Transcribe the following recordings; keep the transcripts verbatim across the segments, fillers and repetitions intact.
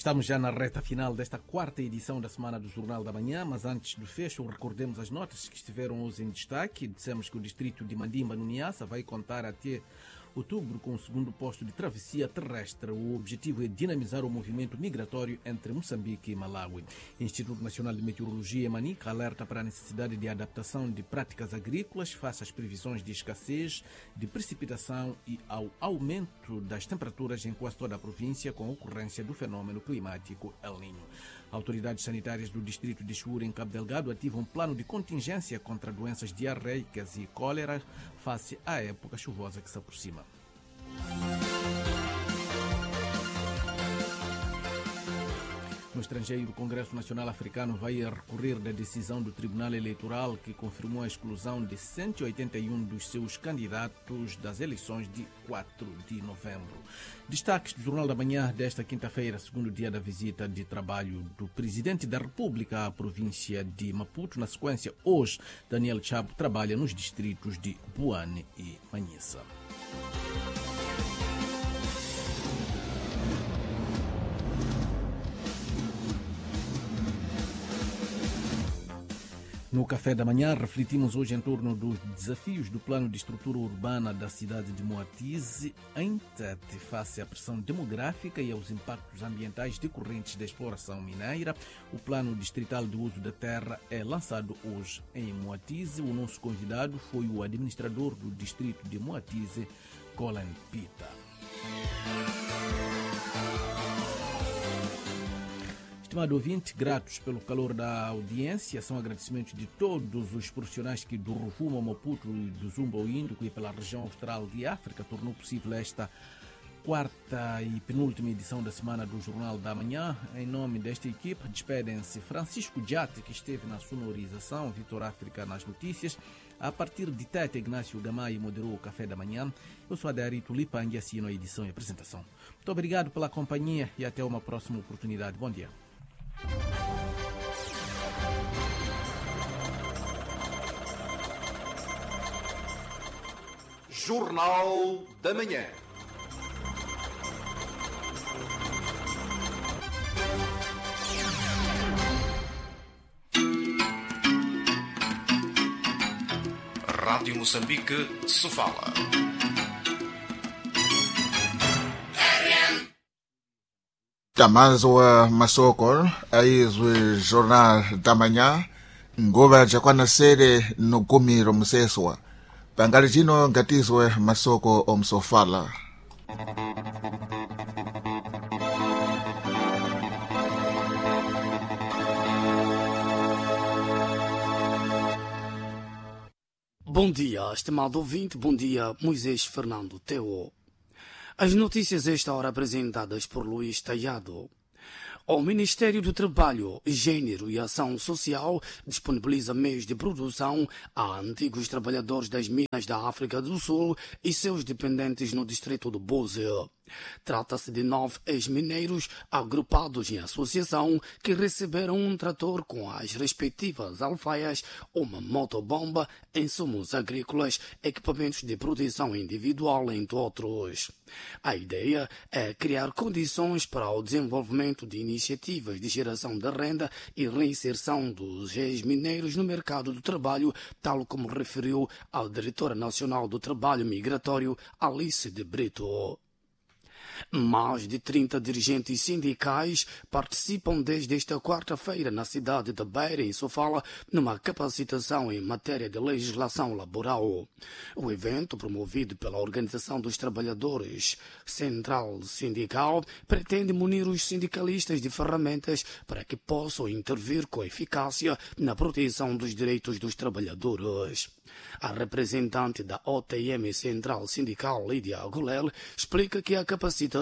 Estamos já na reta final desta quarta edição da Semana do Jornal da Manhã, mas antes do fecho, recordemos as notas que estiveram hoje em destaque. Dissemos que o distrito de Mandimba, no Niassa, vai contar até outubro com o segundo posto de travessia terrestre. O objetivo é dinamizar o movimento migratório entre Moçambique e Malawi. O Instituto Nacional de Meteorologia, Manica, alerta para a necessidade de adaptação de práticas agrícolas face às previsões de escassez de precipitação e ao aumento das temperaturas em quase toda a província com a ocorrência do fenômeno climático El Niño. Autoridades sanitárias do distrito de Chiúre, em Cabo Delgado, ativam um plano de contingência contra doenças diarreicas e cólera face à época chuvosa que se aproxima. No estrangeiro, o Congresso Nacional Africano vai recorrer da decisão do Tribunal Eleitoral que confirmou a exclusão de cento e oitenta e um dos seus candidatos das eleições de quatro de novembro. Destaques do Jornal da Manhã desta quinta-feira, segundo dia da visita de trabalho do Presidente da República à província de Maputo. Na sequência, hoje, Daniel Chapo trabalha nos distritos de Boane e Manhissa. No Café da Manhã, refletimos hoje em torno dos desafios do plano de estrutura urbana da cidade de Moatize, em Tete, face à pressão demográfica e aos impactos ambientais decorrentes da exploração mineira. O plano distrital de uso da terra é lançado hoje em Moatize. O nosso convidado foi o administrador do distrito de Moatize, Colin Pita. Estimado ouvinte, gratos pelo calor da audiência, são agradecimentos de todos os profissionais que do Rovuma ao Maputo e do Zumba ao Índico e pela região austral de África tornou possível esta quarta e penúltima edição da Semana do Jornal da Manhã. Em nome desta equipe, despedem-se Francisco Diate, que esteve na sonorização, Vitor África nas notícias. A partir de Tete, Ignácio Gamay moderou o Café da Manhã. Eu sou Adarito Lipang e assino a edição e apresentação. Muito obrigado pela companhia e até uma próxima oportunidade. Bom dia. Jornal da Manhã. Rádio Moçambique, Sofala. Tamazwa masoko aizwe Jornal da Manhã nguva jakwana sere no gumi romuseswa pangali cino ngatizwe masoko omsofala. Bom dia, estimado ouvinte, bom dia, Moisés Fernando Teo. As notícias esta hora apresentadas por Luís Taiado. O Ministério do Trabalho, Gênero e Ação Social disponibiliza meios de produção a antigos trabalhadores das minas da África do Sul e seus dependentes no distrito do Búzi. Trata-se de nove ex-mineiros agrupados em associação que receberam um trator com as respectivas alfaias, uma motobomba, insumos agrícolas, equipamentos de proteção individual, entre outros. A ideia é criar condições para o desenvolvimento de iniciativas de geração de renda e reinserção dos ex-mineiros no mercado do trabalho, tal como referiu a diretora nacional do Trabalho Migratório, Alice de Brito. Mais de trinta dirigentes sindicais participam desde esta quarta-feira na cidade de Beira, em Sofala, numa capacitação em matéria de legislação laboral. O evento, promovido pela Organização dos Trabalhadores Central Sindical, pretende munir os sindicalistas de ferramentas para que possam intervir com eficácia na proteção dos direitos dos trabalhadores. A representante da O T M Central Sindical, Lídia Gulel, explica que a capacitação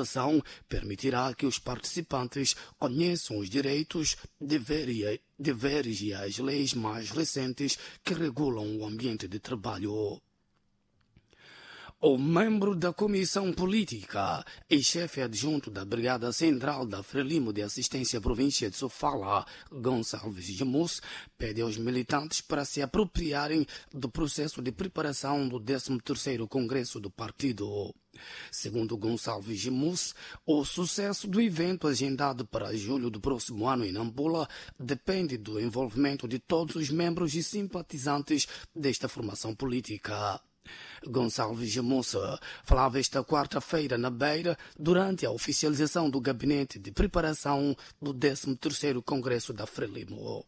permitirá que os participantes conheçam os direitos, deveres e as leis mais recentes que regulam o ambiente de trabalho. O membro da Comissão Política e chefe adjunto da Brigada Central da Frelimo de Assistência à Província de Sofala, Gonçalves Gemus, pede aos militantes para se apropriarem do processo de preparação do décimo terceiro Congresso do Partido. Segundo Gonçalves Gemus, o sucesso do evento agendado para julho do próximo ano em Nampula depende do envolvimento de todos os membros e simpatizantes desta formação política. Gonçalves Gemussa falava esta quarta-feira na Beira durante a oficialização do gabinete de preparação do décimo terceiro Congresso da Frelimo.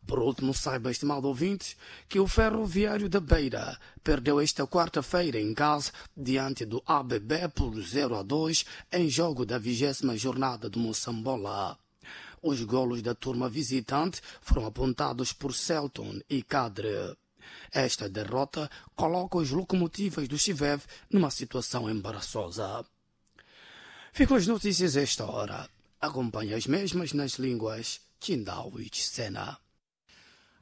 Por último, saiba, estimado ouvinte, que o Ferroviário da Beira perdeu esta quarta-feira em casa diante do A B B por zero a dois em jogo da vigésima jornada do Moçambola. Os golos da turma visitante foram apontados por Celton e Cadre. Esta derrota coloca os locomotivas do Chivev numa situação embaraçosa. Ficam as notícias a esta hora. Acompanhe as mesmas nas línguas Chindau e Chisena.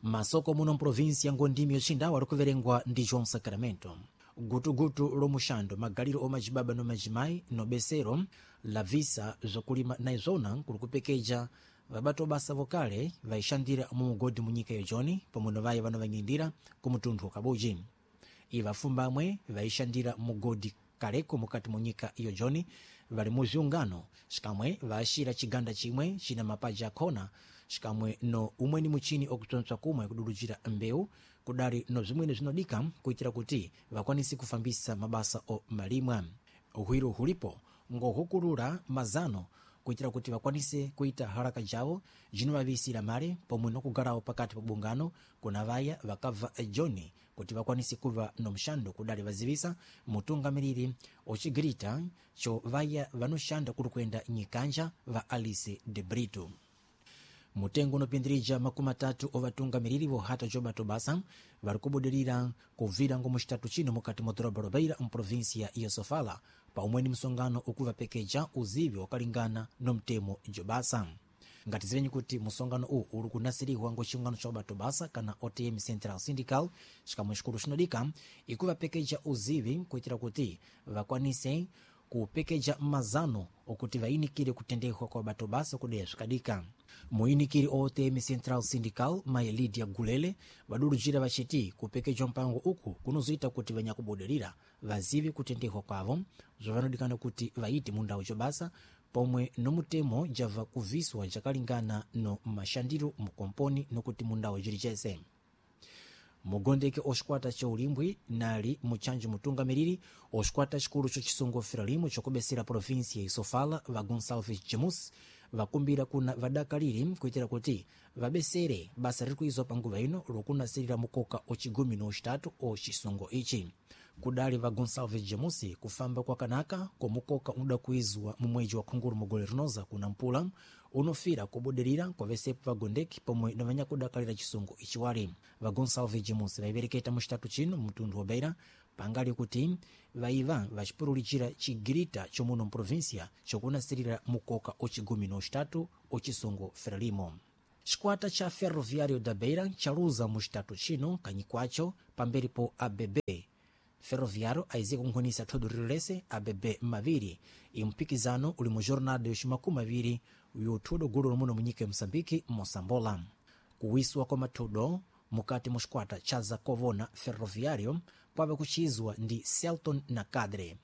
Masoko muno mprovinsi ya Ngondimi yoxindawa likuverengwa ndi João Sacramento. Gutugutu lomuxando magaliro omacibaba no macimai nobesero lavisa zwakulima na izona kuli kupekeja vabato basa vokale vaixandira mumugodi munyika yojoni pomwe novaye vano vanyindira ku mutunthu wa Kabuji. Iva afumbamwe vaixandira mugodi kaleko mukati munyika yojoni vali muziungano xikamwe vaxira ciganda cimwe cina mapaja akhona xikamwe no umweni muchini okutsontswa kumwe kudulujira mbewu kudali no zimwene zinodika kuitira kuti vakwanise kufambisa mabasa o malimwa. Uhwiro hulipo ngohukulula mazano kuitira kuti vakwanise kuita haraka jawo jinovavisira mare pomwe nokugalawo pakati pa bungano kuna vaya vakabva Joni kuti vakwanise kuva no mxando kudali vazivisa mutungamiriri ocigirita cho vaya vanoxanda kuri kuenda nyikanja va Alice de Brito. Mutengo unopindirija makumi atatu ovatungamiriri vohata jobato basa vari kubudirira kuvira ngo muxitatu chino mukati mwa doroba la Beira mprovinsia ya Sofala pa umweni msongano ukuvapekeja uzivi wakalingana no mtemo jobasa. Ngatizivenyi kuti musongano uwu uri kunasirihwa ngo chiungano cha ubato basa kana O T M Central Syndical xikamwe xikulu xinodika ikuvapekeja uzivi kuitira kuti vakwanise kupekeja mazano okuti vayinikire kutendehwa kwa bato basa kudeya zvikadika. Muyinikiri o O T M Central Syndical mai Lydia Gulele vadurujira vachiti kupekejwa mpango uku kunozoita kuti vanyakubudirira vazive kutendehwa kwavo zvavanodikana kuti vaite mundau jobasa pomwe nomutemo java kuviswa jakalingana no mashandiro mukomponi nokuti mundau jiri chese. Mugondeke oxikwata cha ulimbwi nali muchanjo mutungamiriri oxikwata xikulu cho chisungo Frelimo chokubesera provinsia ya Sofala va Gonçalves Jamus vakumbira kuna vadakaliri kuitira kuti vabesere basa riri kuizwa panguva ino lokunasirira mukoka ocigumi no ocitatu oxisungo ichi. Kudali va Gonçalves Jamus kufamba kwakanaka komukoka unoda kuizwa mu mwedzi wa khunguru mugole rinoza kuna mpula unofira kubudirira kwavesepo vagondeki pomwe na vanyakudakalira chisungo ichiwali. Va Gonçalves Jamus vaivereketa muxitatu chino mutundu wa Beira pangali kuti vaiva vacipurulicira cigirita chomuno mprovinsia chokunasirira mukoka ocigumi no ocitatu ochisungo Frelimo. Xikwata cha Ferroviário da Beira chaluza muxitatu chino kanyikwacho pamberi po A B B. Ferroviário aize kunkhonisa thodo lililese A B B maviri impikizano uli mu jornada yoximakumi aviri yothudo gulu lomuno munyika ya Moçambique Moçambola. Kuwiswa kwa mathudo mukati mu xikwata cha Zakovona Ferroviário kwave kuchizwa ndi Celton na Cadre.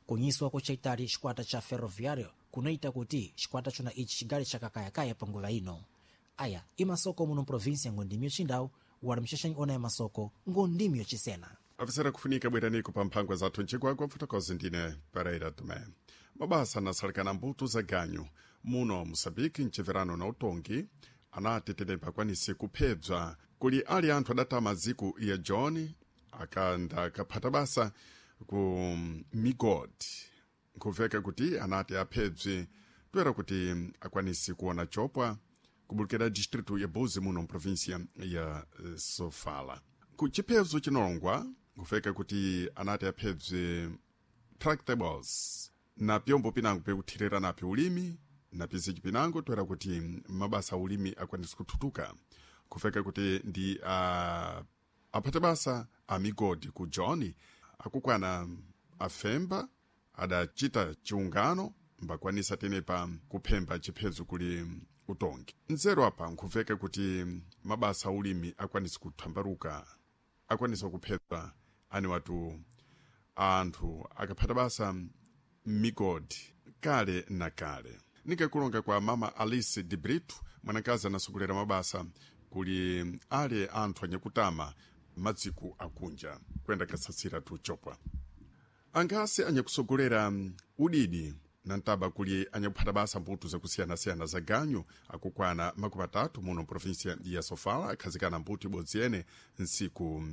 Kunyiswa kochaitali xikwata cha Ferroviário kunoita kuti xikwata chona ichi chigali chakakayakaya panguva ino. Aya imasoko muno mprovinsia ngondimi yoxindau wali mxaxanyi ona ya masoko ngondimi yoxisena. Afisera kufunika bweraniko pa mphangwa zathu ncigwagwa mfotokozi ndine Pereira Tomé. Mabasa anasalikana mbuto za ganyu muno Moçambique mceverano na utongi anati tetempa akwanise kuphebza kuli ali anthu adatama maziko ya John akanda akaphata basa ku migodi nkhuveka kuti anati aphebze toera kuti akwanise kuona chopwa kubulukira distrito ya Buzi muno mprovinsia ya Sofala. Ku chiphezo chinolongwa nkufeka kuti anati aphebze tractables na pyombo pinango pekuthirira napyo ulimi na pizichi pinango toera kuti mabasa a ulimi akwanise kuthutuka kufeka kuti ndi uh, aphate basa a migodi ku John Akukwana afemba adachita chiungano mbakwanisa tenepa kuphemba chiphezo kuli utongi. Nzeru apa nkhuveka kuti mabasa ulimi akwanisa kuthambaruka, akwanisa kuphedza ani watu anthu akaphata basa migodi kale na kale. Nikakulonga kwa mama Alice de Brito, mwanakazi anasogolera mabasa kuli ale anthu anyakutama madziku akunja kwenda kasatsira tuchopwa. Angasi anyakusogolera udidi na ntaba kuli anyakuphata basa mbuto zakusiyanasiyana za ganyu akukwana makumi atatu muno província ya Sofala akhazikana mbuto ibodzi yene nsiku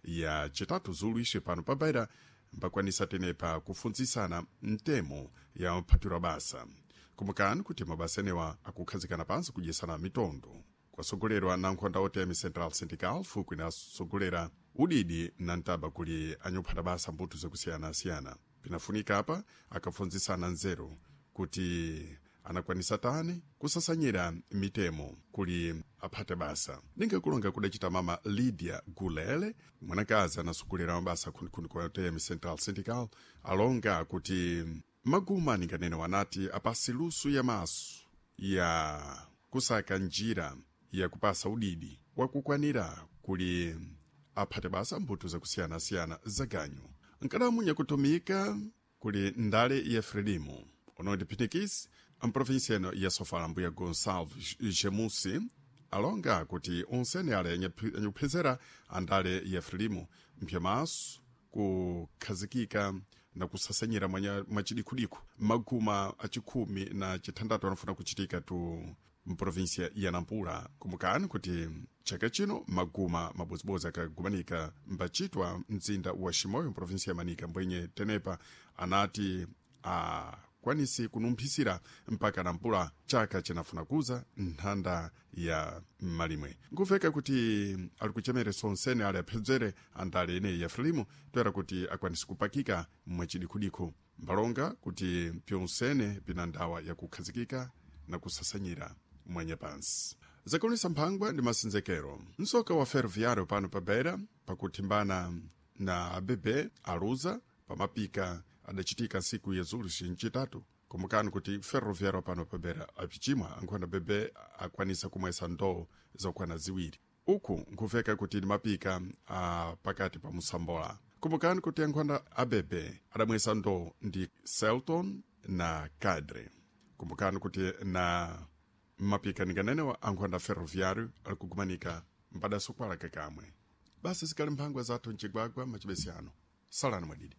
ya chitatu zulu ixi pano pa Beira mbakwanisa tenepa kufunzisana mtemo ya maphatiro basa. Kumbukani kuti mabasa enewa akukhazikana pansi kudyesana mitondo kwasogolerwa na nkhonda O T M Central Syndical fuku inasogolera udidi na ntaba kuli anyakuphata basa mbuto zakusiyanasiyana. Pinafunika apa akafunzisana nzeru kuti anakwanisa tani kusasanyira mitemo kuli aphate basa. Ningakulonga kudacita mama Lydia Gulele, mwanakazi anasogolera mabasa khunikhuni kwa O T M Central Syndical, alonga kuti maguma ninganene wanati apasi lusu ya maso ya kusaka njira ya kupasa udidi wakukwanira kuli aphate basa mbuto zakusiyanasiyana za ganyu. Nkadamu nyakutumika kuli ndale ya Frelimo onodi Pitikis mprovinsia ino ya Sofala mbuya Gonçalves Gemusi alonga kuti onsene ale anyakuphezera andale ya Frelimo mpyamaso kukhazikika na kusasanyira mwachidikhudiku maguma achikhumi na chithandatu anafuna kuchitika tu mprovinsia ya Nampula. Kumbukani kuti chaka chino maguma mabodzibodzi akagumanika mbachitwa mzinda wa Chimoio mprovinsia ya Manica, mbwenye tenepa anati akwanisi kunumphisira mpaka Nampula chaka chinafuna kuza nthanda ya malimwe. Nkuveka kuti ali kuchemereso onsene ali aphedzere andale ineyi ya Frelimo toera kuti akwanisi kupakika mwachidikhudikhu. Mbalonga kuti pyonsene pina ndawa yakukhazikika na kusasanyira mwanya pansi. Zakulisa mphangwa ndi masenzekero. Msoka wa ferroviário pano pa Beira pakuthimbana na A B B aluza pamapika adachitika nsiku ya zulu ncitatu. Kumbukani kuti ferroviário pano pa Beira apichimwa ankhona B B akwanisa kumwesa ndoo zakwana ziwiri. Uku nkuveka kuti ndi mapika a pakati pa musambola. Kumbukani kuti ankhonda A B B adamwesa ndoo ndi Celton na Cadre. Kumbukani kuti na mapika ninganenewa ankhonda ferroviário ali kugumanika mbadasokwala kakamwe. Basi zikali mphangwa zathu mcigwagwa macibesi ano. Salani mwadidi.